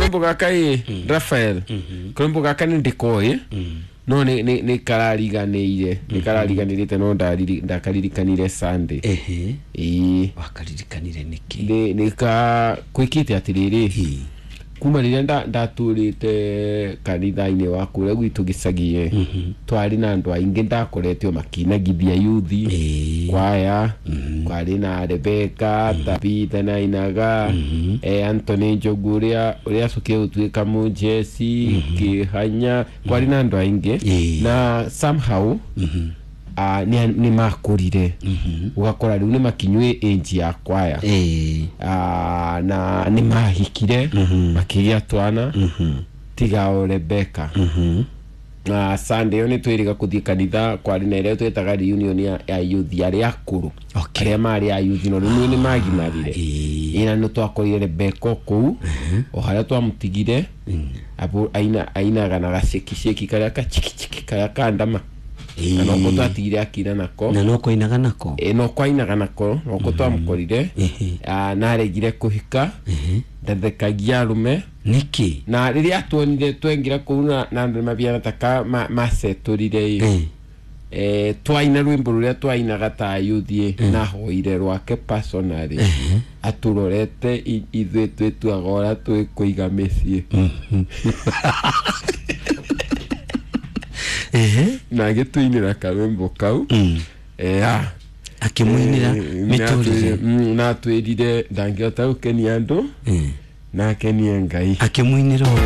Karwimbo gaka ĩ Rafael, karwimbo gaka nĩ ndĩkoĩ no nĩ karariganĩire, nĩ karariganĩrĩte, no ndakaririkanire Sunday. Ehe. Ĩĩ. Wakaririkanire nĩkĩ? Nĩ ka kwĩkĩte atĩrĩrĩ, Ĩĩ. kuma rĩrĩa ndatũrĩte kanitha-inĩ wa kũrĩa gwitũ gĩcagi, twarĩ na andũ aingĩ ndakoretwo makinagithia yuthi kwaya. Kwarĩ na Rebeka Tabitha nainaga, Anthony Njogu ũrĩa acokire gũtuĩka mũjeci kĩhanya. Kwarĩ na andũ aingĩ na somehow nĩ makũrire, ũgakora rĩu nĩ makinyue age ya kwaya. Na nĩ mahikire, makĩgĩa twana, tiga o Rebeka. Na Sunday ĩyo nĩ twĩrĩga kũthiĩ kanitha, kwarĩ na ĩrĩa twĩtaga reunion ya youth arĩa akũrũ, arĩa marĩ a youth no rĩu nĩ magimarire. Ĩna nĩ twakorire Rebeka kũu o harĩa twamũtigire abu aina ainaga na gacekiceki karĩa kachikichiki karĩa kandama, na noko twatigire akina nako. Na no koinaga nako? Ĩ, no kwainaga nako, noko twamũkorire. Naregire kũhika, ndathekagia arũme. Nĩkĩ? Na rĩrĩa tuonire twengira kũu na andũ nĩmabiana taka macetũrire ĩ, twaina rwĩmbo rũrĩa twainaga ta yuthi, nahoire rwake personally atũrorete ithuĩ twĩtuaga ũrĩa twĩkũiga mĩciĩ. Na agĩtũinĩra karwĩmbo kau. Akĩmũinĩra mĩtũrĩre. Na atwĩrire ndangĩhota gũkenia andũ, na akenie Ngai. Akĩmũinĩra ũũ.